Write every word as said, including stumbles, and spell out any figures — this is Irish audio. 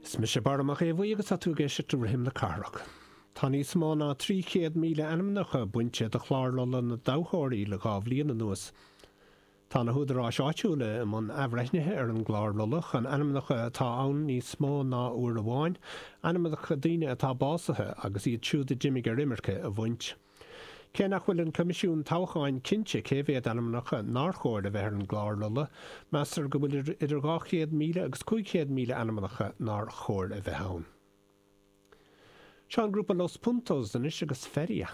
Is mise Barra Mac Aodha Bhuí agus tá tú ag éisteacht le Rithim na Cathrach. Tá níos mó ná trí chéad míle ainmneacha bainte de chlár rolla na dtoghthóirí le dhá bhliain anuas. Tá na húdaráis áitiúla i mbun athbhreithnithe ar an gclár rolla chun ainmneacha atá ann níos mó ná uair amháin, ainmneacha daoine atá básaithe agus iad siúd a d'imigh ar imirce a bhaint. Cé nach bhfuil an Coimisiún Toghcháin cinnte cé mhéad ainmneacha nár chóir a bheith ar an gclár rolla, meastar go bhfuil idir dhá chéad míle agus cúig chéad míle ainmneacha nár chóir a bheith ann. Seo an grúpa Los Puntos anois agus Feria.